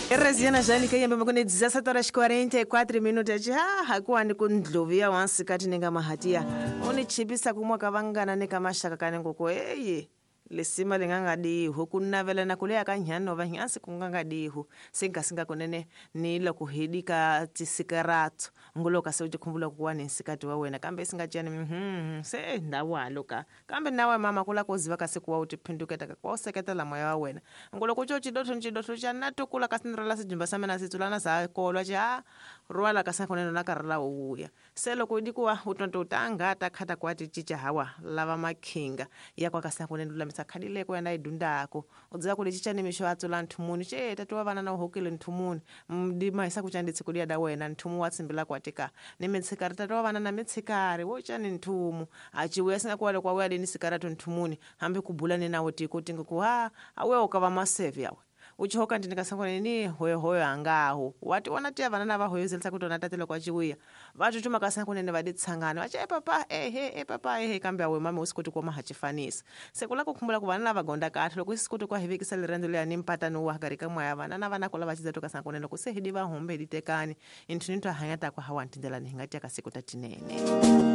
Raziana Jane kayembe makone 17 horas 44 minutos ha hakuwani ku ndlovu ya wansikati ninga mahatiya unichipisa kumwa ka vangana ni ka maxaka kani ngoko eye lisima li nga nga dihu ku navelana ku leya ka nyhani va nyansi ku nga nga dihu se nga singa kunene ni loko hi di ka tisikarato ngolo ka se u tikhumbula ku wa ni nsikati wa wena kambe singa cani se ndawalo ka kambe nawe mama kula ku ziva kasi kuwa u tiphinduketa ka kuwa u seketela moya wa wena ngolo ku co cidotho cidotho xa na tukula kasi ni rala sijumba sa mina sitsulana sa kolwa ci ha rwala kasi kunene na karhi la wuya se loko di kuwa u tonto u ta nga ta khata kuwa ti cinca hawa lava makhinga ya kwa kasi kunene lulamisa khadi leyi ku ya na yi dundako u dziva ku li cinca ni mixo a tsula nthumuni ce tati wa vana na u hokile nthumuni di mahisa ku candi tshiku liya da wena nthumu wa tsimbila kwa tika ni mitshikari tati wa vana na mitshikari wo cani nthumu a ciwuya singa kuwa loko wa wuya lini sikaratu nthumuni hambi ku bula ni nawo tiko tinga ku ha a wuya u ka va maseve yawe uchihoka ndini kasangone ni hoyohoyo angaho wati wana tiya vana na vahoyozelisa kuti ona tate loko achiuya vatutuma kasangonene vaditsangana vachi e papa ehe e papa ehe kambe awe mame usikoti kuoma hachifanisa sekula kukhumbula ku vana lava gonda kahle loko isikoti kwa hivekisa lirendo leya ni mpatano wa hakari ka moya vana na vana kula vachiza to kasangonene loko se hidi vahombe hiditekani inthu ni to hanya takwa hawa ntindlela ni hinga tiya kasiku tatinene.